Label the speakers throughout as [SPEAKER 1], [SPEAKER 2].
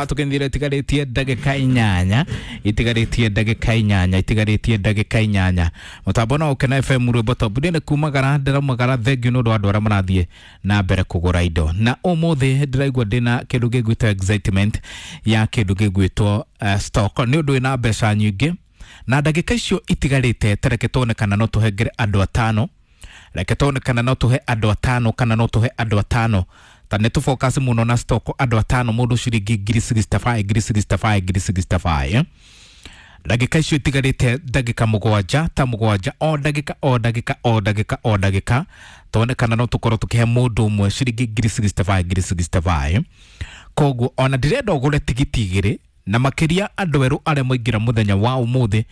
[SPEAKER 1] Tukendire itigarĩtie ndagĩka inyanya, itigarĩtie ndagĩka inyanya, itigarĩtie ndagĩka inyanya. Mũtambo no Ũkena FM, rwĩmbo top. Ndĩ nĩ kumagara, ndĩraumagara. Thengiũ nĩ ũndũ wa andũ arĩa marathiĩ na mbere kũgũra indo, na ũmũthĩ ndĩraigua ndĩna kĩndũ gĩgwĩtwo excitement ya kĩndũ gĩgwĩtwo stock, nĩ ũndũ wĩna mbeca nyingĩ. Na ndagĩka icio itigarĩte, tareke tuone kana no tũhengere andũ atano, reke tuone kana no tũhe andũ atano, kana no tũhe andũ atano. Ta nĩ tũ focus mũno na stock. Andũ atano, mũndũ ciringi ngiri 65, ngiri 65, ngiri 65. Ndagĩka icio itigarĩte, ndagĩka mũgwanja, ta mũgwanja, o ndagĩka, o ndagĩka, o ndagĩka, o ndagĩka, tuone kana no tũkorwo tũkĩhe mũndũ ũmwe ciringi ngiri 65, ngiri 65. Koguo ona ndĩrenda ũgũre tigiti igĩrĩ, na makĩria andũ erũ arĩa maingĩra mũthenya wa ũmũthĩ,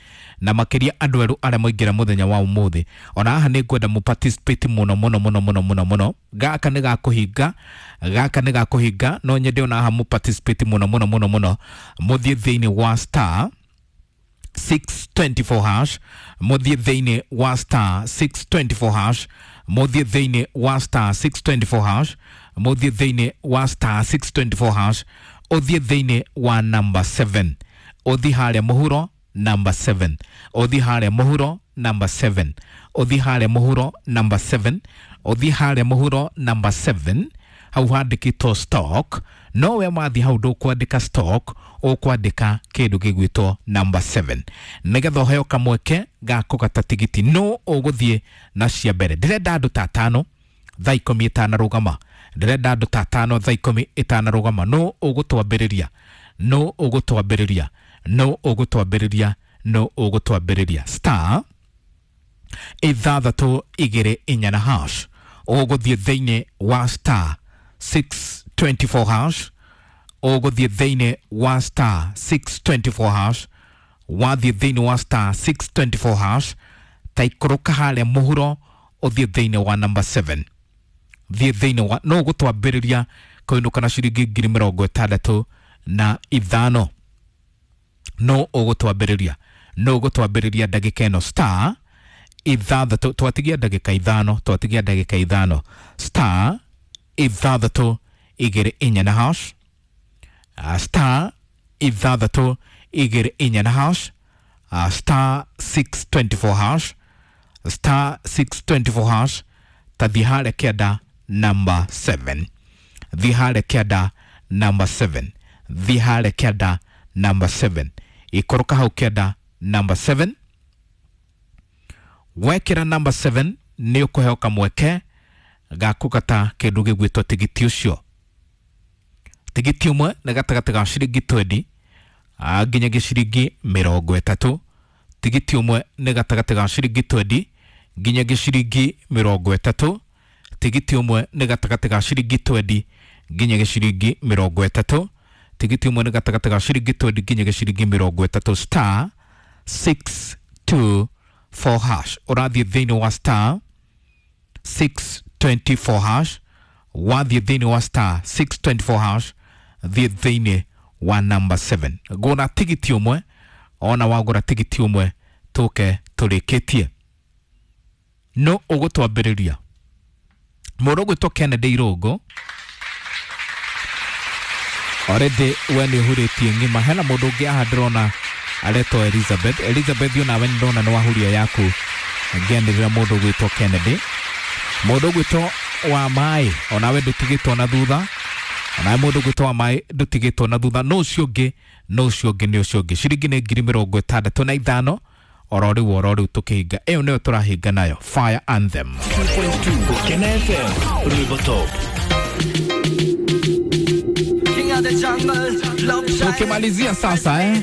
[SPEAKER 1] na makĩria andũ erũ arĩa maingĩra mũthenya wa ũmũthĩ. Ona haha nĩ ngwenda mũ participate mũno mũno mũno mũno mũno mũno. Gaka nĩ gakũhinga, gaka nĩ gakũhinga. No nyende ona haha mũ participate mũno mũno mũno mũno. Mũthiĩ thĩinĩ wa star 624 hash, mũthiĩ thĩinĩ wa star 624 hash, mũthiĩ thĩinĩ wa star 624 hash, mũthiĩ thĩinĩ wa star 624 hash, ũthiĩ thĩinĩ wa number 7, ũthiĩ harĩa mũhuro number 7, ũthiĩ harĩa mũhuro number 7, ũthiĩ harĩa mũhuro number 7, ũthiĩ harĩa mũhuro number 7, hau handĩkĩtwo stock. No we wathiĩ hau ndũkwandĩka stock, ũkwandĩka kĩndũ gĩgwĩtwo number 7, nĩgetha ũheo kamweke ga kũgata tigiti. No ũgũthiĩ na cia mbere. Ndĩrenda andũ ta atano thaa 10 ĩtanarũgama, ndĩrenda andũ ta atano thaa 10 ĩtanarũgama. No ũgũtwambĩrĩria, no ũgũtwambĩrĩria, no ũgũtwambĩrĩria, no ũgũtwambĩrĩria. Star 624 na hash. Ũgũthiĩ thĩinĩ wa star 624 hash, ũgũthiĩ thĩinĩ wa star 624 hash. Wathiĩ thĩinĩ wa star 624 hash, ta ikũrũka harĩa mũhuro, ũthiĩ thĩinĩ wa number 7, thiĩ thĩinĩ wa no ũgũtwambĩrĩria kũinũka na ciringi 65,000. No ũgũtwambĩrĩria, no ũgũtwambĩrĩria ndagĩka ĩno. Star ithathatũ, twatigia ndagĩka ithano, twatigia ndagĩka ithano. Star 624 na hash, star 624 na hash, star 624 hash, star 624 hash. Ta thiĩ harĩa kĩanda number 7, thiĩ harĩa kĩanda number 7, thiĩ harĩa kĩanda number 7, ikũrũka hau kĩanda number 7. Wekĩra number 7, nĩ ũkũheo kamweke ga kũgata kĩndũ gĩgwĩtwo tigiti ũcio. Tigiti ũmwe nĩ gatagatĩ ga ciringi 20 nginyagia ciringi 30. Tigiti ũmwe nĩ gatagatĩ ga ciringi 20 nginyagia ciringi 30. Tigiti ũmwe nĩ gatagatĩ ga ciringi 20 nginyagia ciringi 30. Tigiti ũmwe nĩ gatagatĩ ga ciringi 20 nginyagia ciringi 30. Star 624 hash. Ũrathiĩ thĩinĩ wa star 624 hash. Wathiĩ thĩinĩ wa star 624 hash, thiĩ thĩinĩ wa number 7, gũra tigiti ũmwe. Ona wagũra tigiti ũmwe, tũke tũrĩkĩtie. No ũgũtwambĩrĩria mũndũ ũgwĩtwo Kennedy Irũngũ. Already we nĩ ũhurĩtie ng'ima. Hena mũndũ ũngĩ haha ndĩrona aretwo Elizabeth. Elizabeth, onawe nĩ ndona nĩ wahuria yaku. Ngĩanĩrĩra mũndũ ũgwĩtwo Kennedy, mũndũ ũgwĩtwo wa maĩ, onawe ndũtigĩtwo na thutha, onawe mũndũ ũgwĩtwo wa maĩ ndũtigĩtwo na thutha. No ũcio ũngĩ, no ũcio ũngĩ, nĩ ũcio ũngĩ. Ciringi nĩ 65,000 oro rĩu, oro rĩu tũkĩhinga. Ĩyo nĩyo tũrahinga nayo, Fire Anthem.
[SPEAKER 2] 2.2 Kena FM, Rwĩmbo Top.
[SPEAKER 3] King of the jungle, love child.
[SPEAKER 1] Tukimalizia sasa, eh?